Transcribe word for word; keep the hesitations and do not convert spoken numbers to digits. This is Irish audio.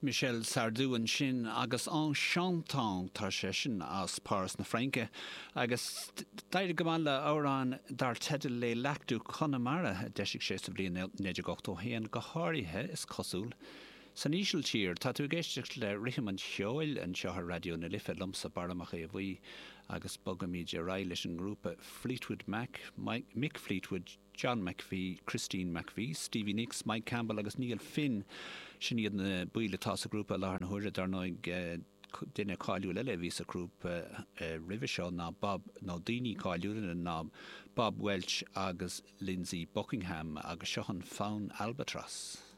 Michel Sardou ansin agus "En chantant", tá sé sin as Páras na Fraince agus d'éirigh go maith le amhrán dar teideal "Les Lacs du Connemara" a d'eisigh sé sa bhliain naoi déag ochtó haon, go háirithe, is cosúil, san Ísiltír. Tá tú ag éisteacht le Rithim an Cheoil anseo ar Raidió na Life liomsa, Barra Mac Aodha Bhuí, agus bogaimid ar aghaidh leis an ngrúpa Fleetwood Mac, Mick Fleetwood, John McVie, Christine McVie, Stevie Nicks, Mike Campbell agus Neil Finn. Sin iad na baill atá sa ghrúpa i láthair na huaire. Dar ndóigh, duine cáiliúil eile a bhí sa ghrúpa roimhe seo ná Bob, nó daoine cáiliúla ná Bob Welch agus Lindsey Buckingham, agus seo an fonn "Albatross".